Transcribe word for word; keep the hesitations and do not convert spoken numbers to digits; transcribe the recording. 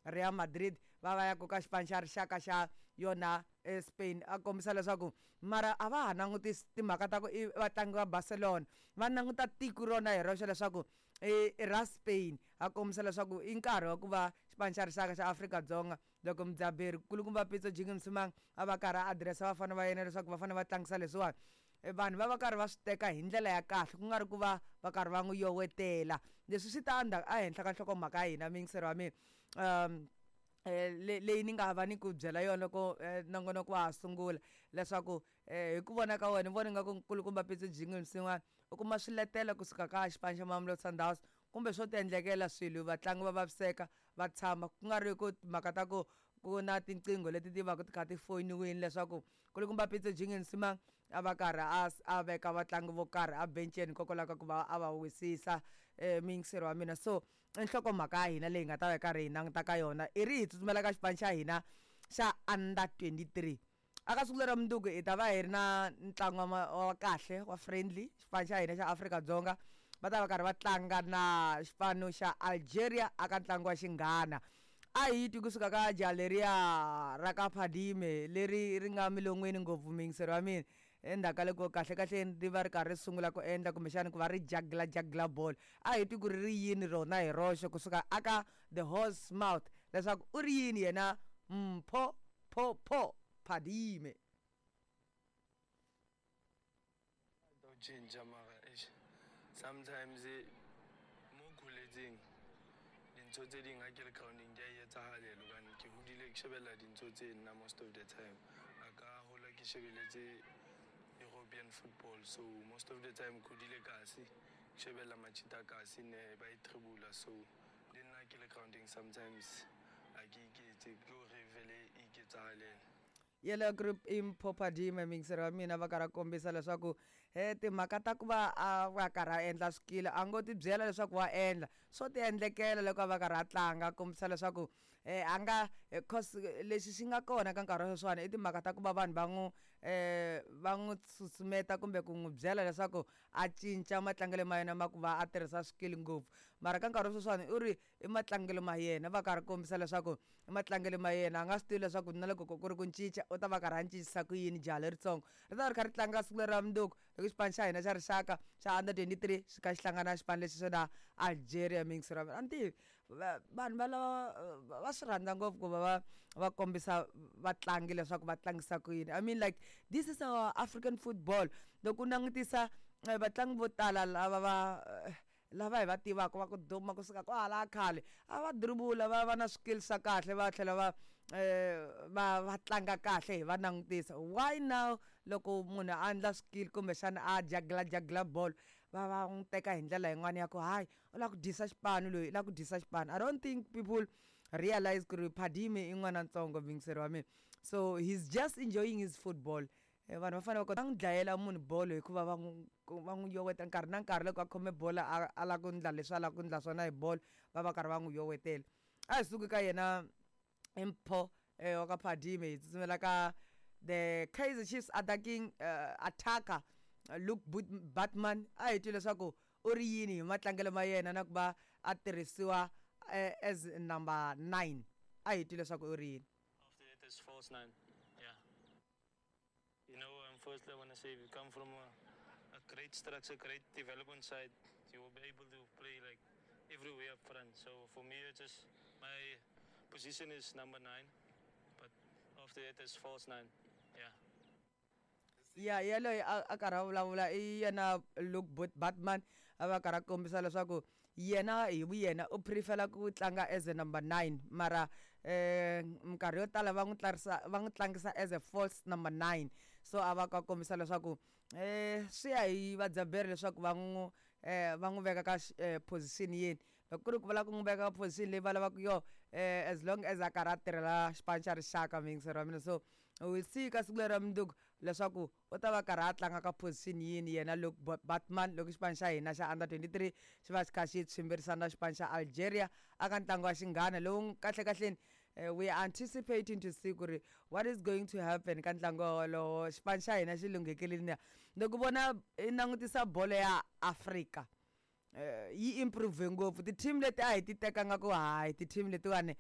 Real Madrid va va ya koka xipano xa rixaka xa yona Spain. A kombisa leswaku mara a va ha langutisi timhaka ta ku i vatlangi va Barcelona, va languta tiko rona hi roxe leswaku i ra Spain. A kombisa leswaku i nkarhi wa ku va xipano xa rixaka xa Afrika-Dzonga, loko mudzaberi kulukumba Pitso Jingi Msimang a va karhi a adirese vafana va yena leswaku va fanele va tlangisa leswiwani, vanhu va va karhi va swi teka hi ndlela ya kahle, ku nga ri ku va va karhi va n'wi yowetela. Leswi swi ta ndzhaku ehenhla ka nhlokomhaka ya hina, muyingiseri wa mina, um leyi ni nga va ni ku byela yona loko nongonoko wa ha sungula, leswaku hi ku vona ka wena ni vona nga ku nkulukumba Pitso Jingi Msimang u kuma swiletelo kusuka ka xipano xa Mamelodi Sundowns, kumbe swo ti endlekela swilo, vatlangi va vaviseka va tshama, ku nga ri ku timhaka ta ku ku na tinqingho leti ti va ti kha ti foyiniwini leswaku kulukumba Pitso Jingi Msimang a va karhi a a veka vatlangi vo karhi a benceni hikokwalaho ka ku va a va wisisa, muyingiseri wa mina. So i nhlokomhaka ya hina leyi nga ta va hi karhi hi languta ka yona. I ri hi tsutsumela ka xipano xa hina xa under twenty-three. Aka siku lera mundzuku hi ta va hi ri na ntlangu wa kahle wa friendly. Xipano xa hina xa Afrika-Dzonga va ta va karhi va tlanga na xipano xa Algeria aka ntlangu wa xinghana. A hi twi kusuka ka jaha leriya ra ka Phadime leri ri nga milon'weni ngopfu, muyingiseri wa mina, endzhaku ka loko kahle kahle ri va ri karhi ri sungula ku endla kumbexana ku va ri jagla jagla bolo. A hi twi ku ri ri yini rona hi roxe kusuka aka the horse mouth, leswaku u ri yini yena Mpho Pho Pho Phadime. Cinca mara eish, sometimes mo kholetseng dintho tse ding ha ke le grounding di a etsahalela, hobane ke hodile ke shebella dintho tse nna most of the time. A ka hola ke shebeletse European football, so most of the time ke hodile kasi ke shebella Machita kasi ne ba e tribula, so le nna ke le grounding sometimes a ke iketse, ke hore vele e iketsahalela. Yellow group i Mpho Phadime, muyingiseri wa mina, va karhi va kombisa leswaku he timhaka ta ku va a va karhi a endla swikili a ngo ti byela leswaku wa endla, swo ti endlekela loko a va karhi a tlanga. A kombisa leswaku a nga cause lexi xi nga kona ka nkarhi wa sweswiwani i timhaka ta ku va vanhu va n'wi va n'wi susumeta kumbe ku n'wi byela leswaku a cinca matlangelo ma yena ma ku va a tirhisa swikili ngopfu, mara ka nkarhi wa sweswiwani u ri i matlangelo ma yena. Va karhi kombisa leswaku i matlangelo ma yena, a nga swi tivi leswaku na loko ku ri ku cinca u ta va karhi a cincisa ku yini. Jaha leritsongo ri ta va ri kha ri tlanga siku leri ra mundzuku loko xipano xa hina xa rixaka xa under twenty-three xi kha xi hlangana na xipano lexi xa Algeria. Muyingiseri wa mina, a ni tivi vanhu va lava va swi rhandza ngopfu ku va va va kombisa vatlangi leswaku va tlangisa ku yini. I mean, like, this is our African football. Loko u langutisa vatlangi vo tala lava va lava hi va tivaka va ku duma kusuka kwahala khale, a va dribula, va va na swikili swa kahle, va tlhela va va va tlanga kahle hi va langutisa. Why now loko munhu a endla swikili kumbexana a jagla jagla bolo va va n'wi teka hi ndlela yin'wana ya ku hayi u lava ku dyisa xipano loyi, u lava ku dyisa xipano. I don't think people realize ku ri Phadime i n'wana ntsongo, muyingiseri wa mina, so he's just enjoying his football. Vanhu va fanele va kota n'wi dlayela munhu bolo hikuva va n'wi va n'wi yoweta nkarhi na nkarhi loko a khome bolo a a lava ku endla leswi a lava ku endla swona hi bolo, va va karhi va n'wi yowetela. A hi suki ka yena Mpho wa ka Phadime, hi tsutsumela ka the Kaizer Chiefs attacking uh, attacker Luke Batman. A hi twi leswaku u ri yini hi matlangelo ma yena na ku va a tirhisiwa as number nine. A hi twi leswaku u ri yini. After that is false nine. Yeah. You know, um, firstly I want to say if you come from a, a great structure, great development side, you will be able to play like everywhere up front. So for me, it's just my position is number nine, but after that is false nine. Yeah. Ya yeleyo a karhi a vulavula i yena Luke Batman, a va karhi a kombisa leswaku yena hi vuyena u prefera ku tlanga as a number nine, mara um minkarhi yo tala va n'wi tlarisa va n'wi tlangisa as a false number nine. So a va ka kombisa leswaku um swi ya hi vadzaberi leswaku va n'wi um va n'wi veka ka position yini. Loko ku ri ku va lava ku n'wi veka ka position leyi va lavaka yona, um as long as a karhi a tirhela xipano xa rixaka, muyingiseri wa mina. So we will see ka siku leri ra mundzuku leswaku u ta va karhi a tlanga ka position yini yena Luke Batman loko xipano xa hina xa under twenty-three xi va xi kha xi tshwimbirisana na xipano xa Algeria aka ntlangu wa xinghana lowu. Kahle kahleni we are anticipating to see ku ri what is going to happen ka ntlangu wolowo. Xipano xa hina xi lunghekile na loko vona i langutisa bolo ya Afrika yi improve ngopfu. Ti-team leti a hi ti tekanga ku hayi ti-team letiwani